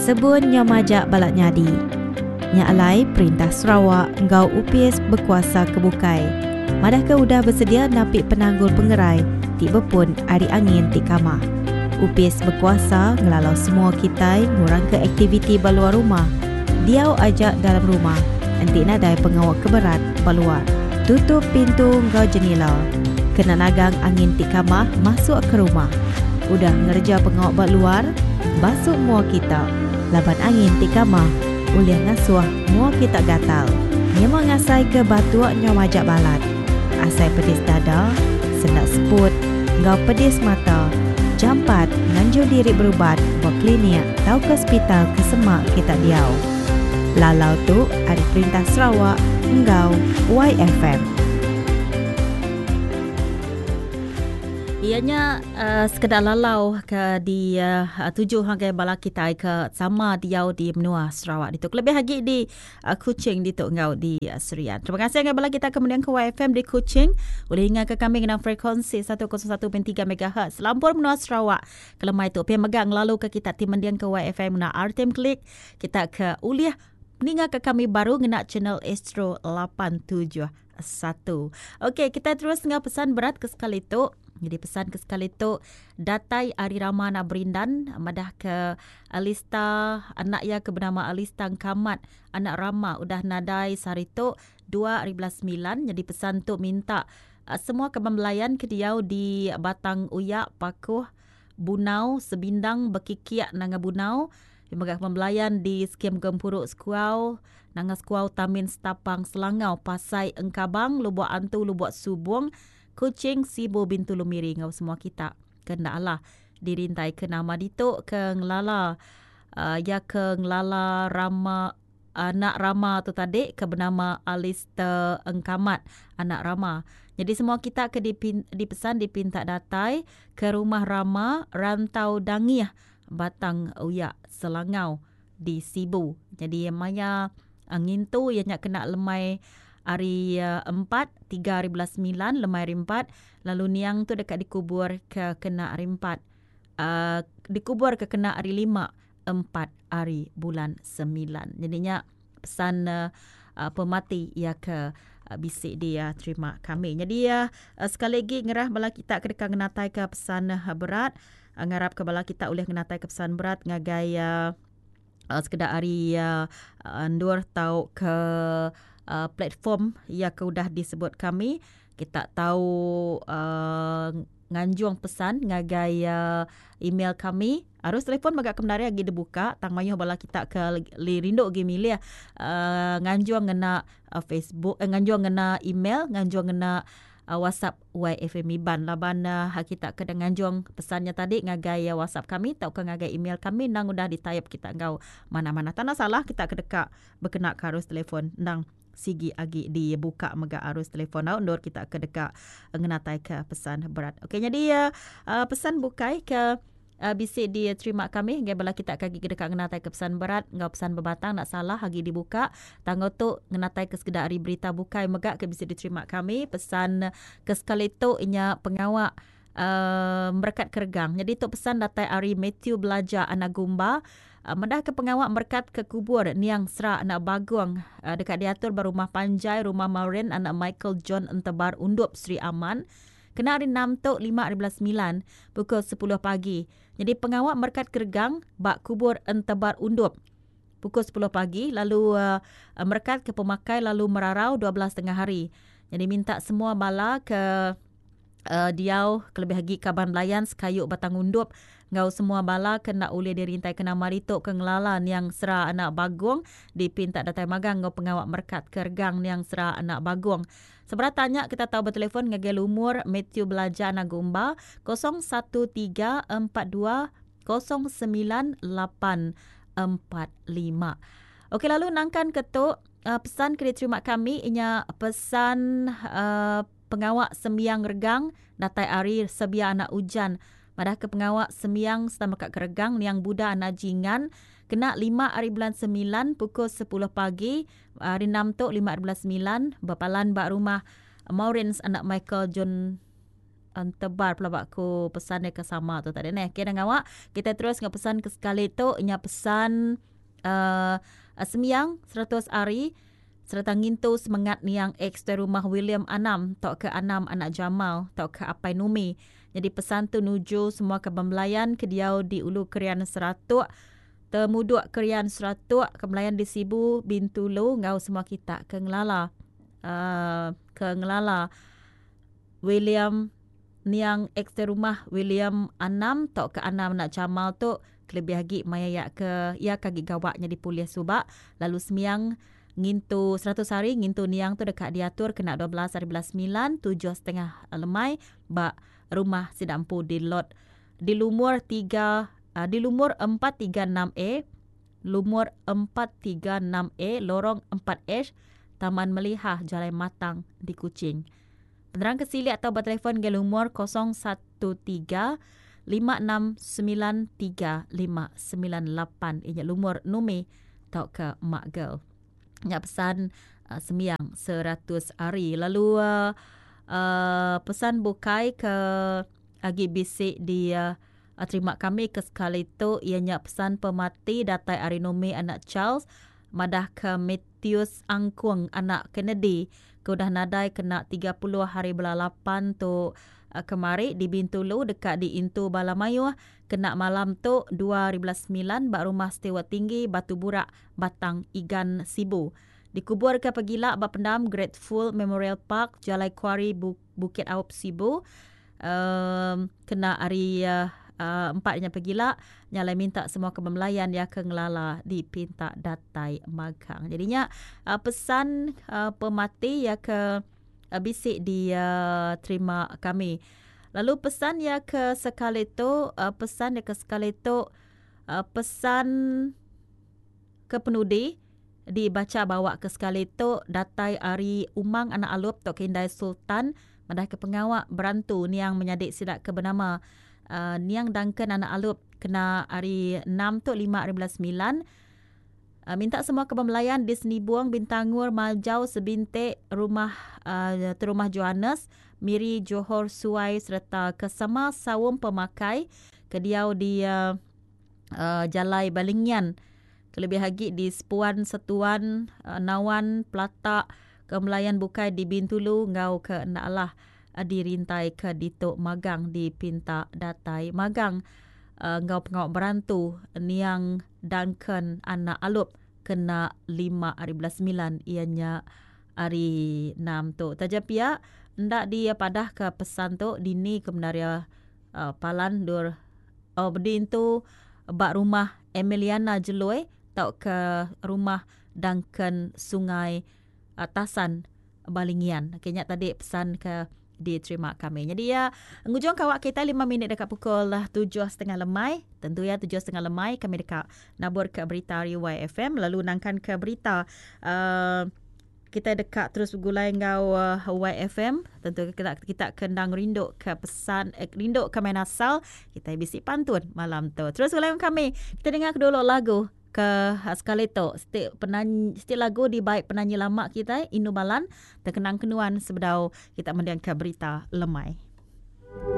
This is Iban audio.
Sebun nyau majak balat nyadi. Nya alai perintah Sarawak enggau opis bekuasa ke bukai madahka udah besedia napi penanggul pengerai ti bepun ari angin ti kamah. Opis bekuasa ngelalau semua kitai ngurangka aktiviti ba luar rumah, diau aja dalam rumah enti nadai pengawa ke berat ba luar. Tutup pintu enggau jenila kena nagang angin ti kamah masuk ke rumah. Udah ngereja pengawa ba luar, basu mua kita laban angin ti kamah ulih ngasuh mua kita gatal. Nyema ngasaika batuk nyau majak balat, asai pedis dada, senda seput, enggau pedis mata, jampat nganjung diri berubat ba klinik tauka sepital ke semak kita diau. Lalau tu ari Perintah Sarawak enggau YFM. Iya nya sekeda lalau ke dituju ngagai bala kitai ke sama diau di menua Sarawak ditu kelebih agi di Kuching ditu enggau di Serian. Terima kasih ngagai bala kita ke mending ke YFM di Kuching ulih ingat ke kami ngena frekuensi 101.3 MHz selampur menua Sarawak. Kelemai tu pia mega ngelalu ke kita ti mending ke YFM ngena RTM Click kita ke ulih ninga ke kami baru ngena channel Astro 871. Okey, kita terus enggau pesan berat ke sekali tu. Jadi pesan ke sekali tu datai ari Rama anak Berindan madah ke Alista anak iya ke benama Alista Engkamat anak Rama udah nadai sehari tu 2009. Jadi pesan tu minta semua kaban belayan ke diau di Batang Uyak, Pakuh, Bunau, Sebindang, Bekikiak, Nanga Bunau, Iya mega pembelayan di Skim Gempuru Sekuau, Nanga Sekuau Tamin Setapang Selangau Pasai Engkabang Lubok Antu Lubok Subong Kuching Sibu Bintulu Miri enggau semua kita ke enda alah dirintai ke nama ditu ke ngelala iya ke ngelala rama anak Rama tu tadi ke benama Alister Engkamat anak Rama. Jadi semua kita ke dipesan dipinta datai ke rumah Rama Rantau Dangih Batang Uyak Selangau di Sibu. Jadi maya ngintu iya nya kena lemai hari empat, tiga hari bulan semilan lemai hari empat lalu niang tu deka dikubur ke kena hari empat uhh dikubur ke kena hari lima empat hari bulan semilan. Jadi nya pesan pemati iya ke bisi diterima kami. Nyadi sekali agi ngerah bala kita ke deka ngenataika pesan berat ngarapka bala kita ulih ngenataika pesan berat ngagai sekeda ari endur tauka platform iya ke udah disebut kami. Kita tau nganjung pesan ngagai email kami. Arus telefon mega ke bendar agi dibuka tang mayuh bala kita ke rindu agi milih nganjung ngena Facebook nganjung ngena email nganjung ngena WhatsApp YFM Iban laban kita ke nganjung pesan nya tadi ngagai WhatsApp kami tauka ngagai email kami endang udah ditaip kita enggau manah-manah. Tanda salah kita ke deka bekena ke arus telefon endang sigi agi dibuka mega arus telefon tau endur kita ke deka ngenataika pesan berat. Okey nyadi pesan bukai ke bisi diterima kami ngagai bala kita ke agi deka ngenataika pesan berat enggau pesan bebatang enda salah agi dibuka. Tang enggau tu ngenataika sekeda ari berita bukai mega ke bisi diterima kami pesan ke sekali tu inya pengawa uhh merekat ke regang. Nyadi tu pesan datai ari Mathew Belaja Anak Gumba meda ke pengawa merekat ke kubur niang Sra Anak Bagong deka diatur ba Rumah Panjai Rumah Maureen Anak Michael John Entebar Undup Sri Aman kena hari enam tu 5.09 pukul 10 pagi. Nyadi pengawa merekat ke regang ba kubur Entebar Undup pukul 10 pagi lalu merekat ke pemakai lalu merarau 12 tengah hari. Nyadi minta semua bala ke diau kelebih agi kaban belayan sekayu Batang Undup enggau semua bala ke enda ulih dirintaika nama ditu ke ngelala niang Sera anak Bagong dipinta datai magang enggau pengawa merekat ke regang niang Sera anak Bagong. Seberapa tanya kita tau betelefon ngagai lumur Mathew Belaja anak Gumba 013 42 09 845. Okey lalu nangkan ke tu pesan ke diterima kami inya pesan Pengawa sembiang regang datai ari Sebia anak Ujan madahka pengawa sembiang sereta meka ke regang niang Buda anak Jingan kena lima ari bulan semilan pukul sepuluh pagi hari enam tu lima ari bulan semilan bepalan ba rumah Maurins anak Michael John. Entebar pelaba ku pesan dia ke sama tu tadi neh. Okey dah ngawa kita terus enggau pesan ke sekali tu nya pesan uh, sembiang 100 hari sereta ngintu semengat niang ex tuai rumah William Anam tauka Anam anak Jamal tauka Apai Numi. Nyadi pesan tu nuju semua ke bemelayan ke diau di Ulu Krian Seratuk, Temuduk Krian Seratuk, ke belayan di Sibu, Bintulu enggau semua kita ke ngelala uh, ke ngelala William niang ex tuai rumah William Anam tauka Anam anak Jamal tu kelebih agi maya iya ke iya ke agi gawa nyadi polis suba lalu sembiang ngintu 100 hari ngintu niang tu deka diatur kena 12 hari bulan semilan tujuh setengah lemai ba rumah sida empu di lot di lumur tiga di lumur 436A lumur 436A lorong 4H Taman Melihah Jalai Matang di Kuching. Penerang ke silik atau bertelefon ke lumur 013 569 3598 inya lumur Numi tauka Mak Girl. Nya pesan uh, sembiang 100 hari. Lalu uh, uh, pesan bukai ke agi bisi di uh, terima kami ke sekali tu iya nya pesan pemati datai ari Numi anak Charles madah ke Matthews Angkung anak Kennedy ke udah nadai kena 30 hari bulan lapan tu kemari di Bintulu deka diintu bala mayuh kena malam tu 2009 ba Rumah Steward Tinggi Batu Burak Batang Igan Sibu. Dikuburka pegila ba pendam Grateful Memorial Park Jalai Kuari Bukit Aup Sibu um kena hari empat nya pegila nya alai minta semua ke bemelayan iya ke ngelala dipinta datai magang. Jadi nya pesan pemati iya ke bisi diterima kami. Lalu pesan iya ke sekali tu pesan iya ke sekali tu pesan ke penudi dibacha bawa ke sekali tu datai ari Umang anak Alup tauka Indai Sultan madahka pengawa berantu niang menyadi sida ke benama Niang Duncan anak Alup kena hari enam tu lima hari bulan semilan minta semua ke bemelayan di Senibong Bintangor Majau Sebintik Rumah Terumah Johannes Miri Johor Suai sereta ke sama saum pemakai ke diau di Jalai Balingian kelebih agi di Sepuan, Setuan, Nawan, Pelatak, ke melayan bukai di Bintulu enggau ke enda alah dirintai ke ditu magang dipinta datai magang enggau pengawa berantu niang Duncan anak Alup kena lima ari bulan semilan iya nya hari enam tu. Taja pia enda dipadahka pesan tu dini ke bendar iya palan endur bediintu ba rumah Emiliana Jeloi tauka rumah Duncan Sungai Tasan Balingian. Okey nya tadi pesan ke diterima kami. Jadi ya ngujung kawak kita 5 minit dekat pukul 7.30 lemai. Tentu ya 7.30 lemai kami dekat nabur ke berita ari YFM lalu nangkan ke berita uh, Kitai deka terus begulai enggau YFM. Tentu kita kita ke endang rindu ke pesan eh, rindu ke main asal, kitai bisi pantun malam tu. Terus begulai enggau kami. Kita dengar ke dulu lagu ke sekali tu. Siti penanyi siti lagu dibai penanyi lama kitai Inu Balan terkenang kenuan sebedau kita mendingka berita lemai.